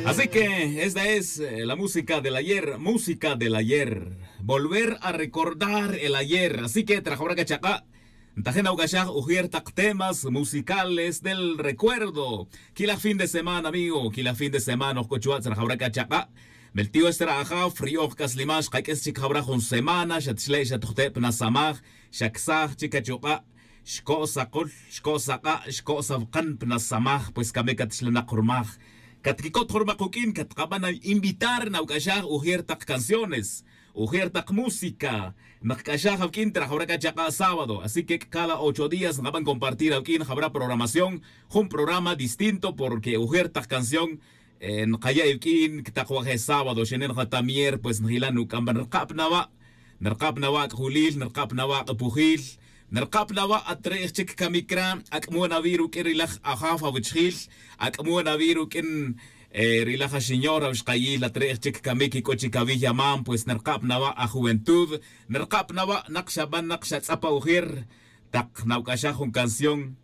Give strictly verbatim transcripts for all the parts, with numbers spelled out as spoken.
Así que esta es eh, la música del ayer, música del ayer. Volver a recordar el ayer. Así que trajawra' k'a chaq'a'. Ntajin awuk'axaj ujier taq temas musicales del recuerdo. Kilaj fin de semana amigo, kilaj fin de semana oj k'o chuwa' tzrajawra' k'a chaq'a'. Meltiw esta ri ajaf ri'oj k'aslimal xqak'is chik jawra' jun semana xa txle' xa tujte' pa nasamaj. Xa ksaj chik achuq'a'. Xko' saqul, xko' saq'a', xko' sawqan pa nasamaj pues kamik at xlanaq rumaj. Katkikot jun rumaq uk'in katqab'an invitar nawuk'axaj ujier taq canciones, ujier taq música. Naqk'axaj awuk'in trajawra' k'a chaq'a' sábado así que cada ocho días nqab'an compartir awuk'in jawra' programación. Jun programa distinto porque ujier taq canción nqaya' iwuk'in taq waje' sábado xane' nqata' mier pues njilan uk'amban rqab' nawa'. Nrqab' nawa' ak'julil nrqab' nawa' ak'pujil. Nrqab' nawa' at re' ijchik kamik ra' ak'mon awi' ruk'in rilaj ajaf awichjil. Ak'mon awi' ruk'in rilaj axiñor awixqayil at re' ijchik kamik ik'o chik awi' yamam pues nrqab' nawa' ajuventud. Nrqab' nawa' naq xaban naq xatz'ap awujer. Taq nawuk'axaj jun canción.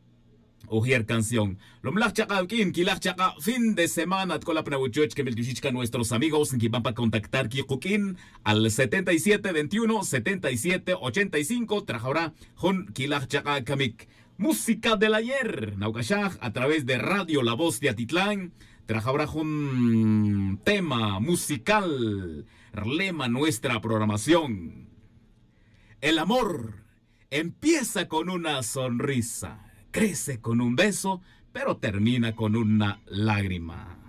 Ujier canción. Lomlaj chaq'a' wuk'in kilaj chaq'a' fin de semana atk'ola' pa nawuchoch kemel kixich kan nuestros amigos nkiban pa contactar kikuk'in al setenta y siete veintiuno setenta y siete ochenta y cinco trajawra' jun kilaj chaq'a' kamik. Música del ayer nawuk'axaj a través de radio la voz de atitlán. Trajawra' jun tema musical. Rlema nuestra programación. El amor empieza con una sonrisa, crece con un beso, pero termina con una lágrima.